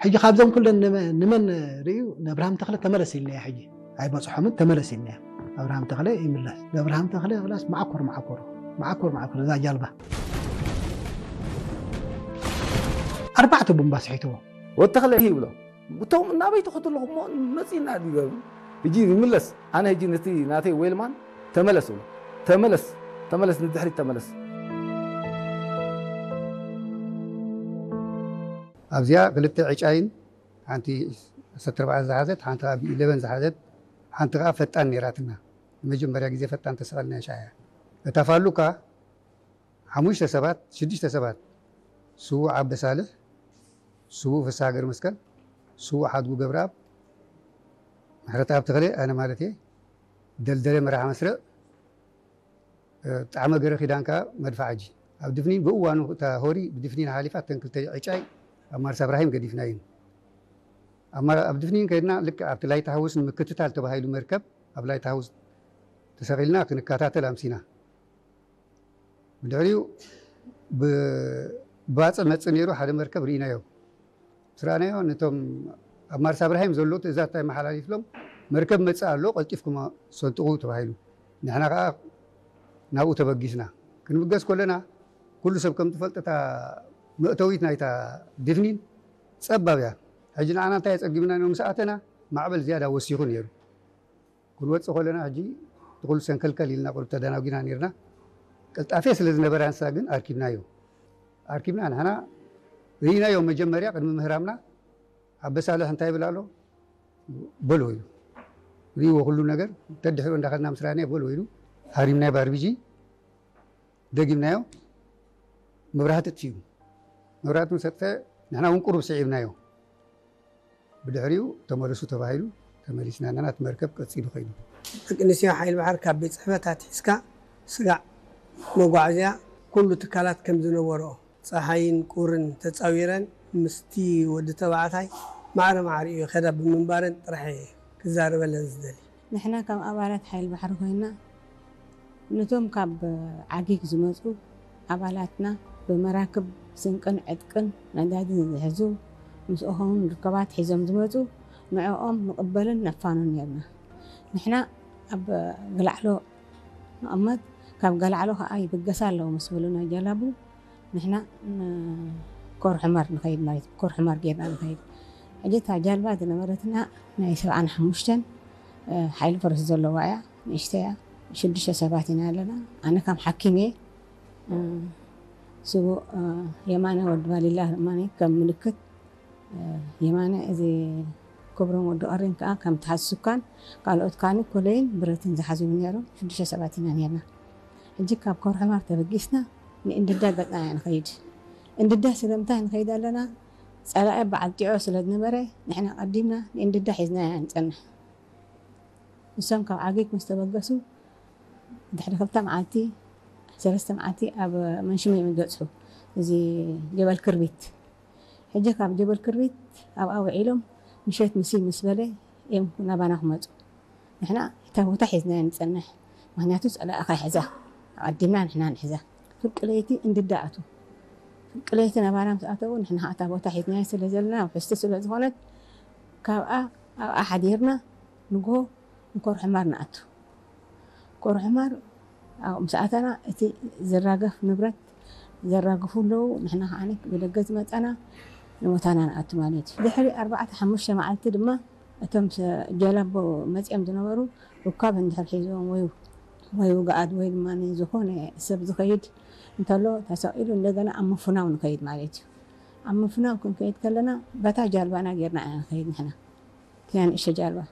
ሕጂ ካብዞም ኩለን ንመ-፣ ንመን ርእዩ? ንኣብርሃም ተኽለ ተመለስ ኢልናዮ። ሕጂ ኣይበጽሖምን፣ ተመለስ ኢልናዮ። ኣብርሃም ተኽለ ይምለስ። ንኣብርሃም ተኽለ ላስ መዓኮር መዓኮር፣ መዓኮር መዓኮር እዛ ጃልባ። ኣርባዕተ ቡምባ ስሒትዎ። ወዲ ተኽለ ይብሎ፣ "እቶም ናበይ ትኸዱ ኣለኹም እሞ መጺእና ድዩ?" ሕጂ ይምለስ። ኣነ ሕጂ ነቲ ናተይ ዌልማን ተመለስ እብሎ። "ተመለስ፣ ተመለስ፣ ንድሕሪት ተመለስ." ኣብዚኣ ክልተ ዕጫይን፣ ሓንቲ ዓሰርተ ኣርባዕተ ዝሓዘት፣ ሓንቲ ከዓ ቢ ኢለቨን ዝሓዘት፣ ሓንቲ ከዓ ፈጣን ነይራትና። ንመጀመርያ ግዜ ፈጣን ተሰቐልና ሻያ። እታ ፋሉካ ሓሙሽተ ሰባት፣ ሽዱሽተ ሰባት፣ ስዉእ ዓበ ሳልሕ፣ ስዉእ ፍስሃ ገርመስቀል፣ ስዉእ ሓድጉ ገብረኣብ፣ ምሕረተኣብ ተኽለ፣ ኣነ ማለት እየ፣ ደልደለ መርሓ መስርዕ፣ እ፣ ጣዕመ ገረ ኪዳን ከኣ መድፍዓጂ። ኣብ ድፍኒን ብእዋኑ እታ ሆሪ ብድፍኒን ሓሊፋ እተን ክልተ ዕጫይ ኣብ ማርሳ እብራሂም ገዲፍናየን። ኣብ ማ-፣ ኣብ ድፍኒን ከድና ልክዕ ኣብቲ ላይት ሃውስ ንምክትታል ተባሂሉ መርከብ ኣብ ላይት ሃውስ ተሰቒልና ክንከታተል ኣምሲና። ብድሕሪኡ ብ-፣ ባጽዕ መጽእ ነይሩ፣ ሓደ መርከብ ርኢናዮ። ምስ ረኣናዮ ነቶም ኣብ ማርሳ እብራሂም ዘለዉ ትእዛዝ እንታይ መሓላሊፍሎም፣ "መርከብ መጽእ ኣሎ፣ ቀልጢፍኩም ሰንጥቑ" ተባሂሉ። ንሕና ከኣ ናብኡ ተበጊስና። ክንብገስ ከለና ኩሉ ሰብ ከም ትፈልጦ እታ መእተዊት ናይታ ድፍኒን ጸባብ እያ። ሕጂ ንዓና እንታይ ኣጸጊቡና ኢሎም ምስ ኣተና ማዕበል ዝያዳ ወሲኹ ነይሩ። ክንወጽእ ከለና ሕጂ እቲ ኩሉ ሰንከልከል ኢልና ቁሩብ ተደናጒና ነይርና። ቅልጣፌ ስለ ዝነበራ ንሳ ግን ኣርኪብናዮ። ኣርኪብና ንሕና ርኢናዮ መጀመርያ ቅድሚ ምህራምና ኣበሳልሕ እንታይ ይብል ኣሎ? በሎ ኢሉ። ርእይዎ ኩሉ ነገር ተድሕሪኡ እንዳኸድና ምስ ረኣናዮ በሎ ኢሉ። ሃሪምናዮ ብኣርቢጂ ደጊምናዮ። መብራህቲ ኣጥፊኡ። መብራህቲ ምስ ኣጥፈአ ንሕና እውን ቁሩብ ስዒብናዮ። ብድሕሪኡ ተመለሱ ተባሂሉ ተመሊስና ኣለና። እቲ መርከብ ቀጺሉ ከይዱ። ደቂ ኣንስትዮ ሓይሊ ባሕሪ ካብ ቤት ጽሕፈት ኣትሒዝካ ስጋዕ፣ መጓዓዝያ፣ ኩሉ ትካላት ከም ዝነበርኦ፣ ጸሓይን ቁርን ተጻዊረን ምስቲ ወዲ ተባዕታይ ማዕረ ማዕሪኡ ይኸዳ ብምንባረን ጥራሕ እየ ክዛረበለን ዝደሊ። ንሕና ከም ኣባላት ሓይሊ ባሕሪ ኮይና፣ ነቶም ካብ ዓጊግ ዝመጹ ኣባላትና ብመራክብ ስንቅን ዕጥቅን ነዳድን ዝሕዙ፣ ምስኦም ርክባት ሒዞም ዝመጹ፣ ንዕኦም ንቕበልን ነፋኑን ነርና። ንሕና ኣብ ገላዕሎ ንቕመጥ፣ ካብ ገላዕሎ ከኣ ይብገሳ ኣለዉ ምስ በሉና ጀላቡ፣ ንሕና ንኮር ሑመር ንኸይድ ማለት እዩ። ኮር ሑመር ጌርና ንኸይድ። ሕጂ እታ ጃልባ ዝነበረትና ናይ ሰብዓን ሓሙሽተን፣ እ፣ ሓይሊ ፈረስ ዘለዋ እያ። ንእሽተይ እያ። ሽዱሽተ ሰባት ኢና ኣለና። ኣነ ከም ሓኪም እየ። እ፣ ስቡእ፣ እ፣ የማነ ወዲ ባሊላ ድማ ከም ምልክት፣ እ፣ የማነ እዚ ክብሮም ወዲ ኦሬን ከኣ ከም ተሓዚ ሱካን ካልኦት ካኒ ኮለይን ብረትን ዝሓዙ ነይሮም። ሽዱሽተ ሰባት ኢና ነርና። ሕጂ ካብ ኮር ሑመር ተበጊስና ንእንድዳ ገጽና ኢና ንኸይድ። እንድዳ ስለምንታይ ንኸይድ ኣለና? ጸላኢ በዓል ጢዖ ስለ ዝነበረ ንሕና ቀዲምና ንእንድዳ ሒዝና ኢና ንጸንሕ። ንሶም ካብ ዓጊግ ምስ ተበገሱ ድሕሪ ክልተ መዓልቲ፣ ሰለስተ መዓልቲ ኣብ መንሽም እዮም ይገጽሑ። እዚ ጀበል ክርቢት። ሕጂ ካብ ጀበል ክርቢት ኣብኣ ውዒሎም ምሸት ምስ ምስ በለ እዮም ናባና ክመጹ። ንሕና እታ ቦታ ሒዝናያ ንጸንሕ። ምኽንያቱ ጸላኢ ከይሕዛ። ኣቐዲምና ንሕና ንሕዛ። ፍርቂ ለይቲ እንድዳ ኣትዉ። ፍርቂ ለይቲ ናባና ምስ ኣተዉ ንሕና እታ ቦታ ሒዝናያ ስለ ዘለና ውሕስቲ ስለ ዝኾነት ካብኣ ኣብኣ ሓዲርና ንግሆ ንኮር ሑመር ንኣቱ። ኮር ሑመር ኣብኡ ምስ ኣተና እቲ ዝራገፍ ንብረት ዘራግፉ ኣለዉ። ንሕና ከዓኒ ብደገ ዝመጻና ንቦታና ንኣቱ ማለት እዩ። ድሕሪ ኣርባዕተ ሓሙሽተ መዓልቲ ድማ እቶም ሰ-፣ ጀላቡ መጺኦም ዝነበሩ ርካብ እንድሕር ሒዞም ወይ፣ ወይ ውግኣት ወይ ድማ ዝኾነ ሰብ ዝኸይድ እንተሎ ተሰቒሉ እንደገና ኣብ ምፍናው ንኸይድ ማለት እዩ። ኣብ ምፍናው ክንከይድ ከለና በታ ጃልባና ጌርና ኢና ንኸይድ ንሕና። እቲኣ ንእሽቶ ጃልባ።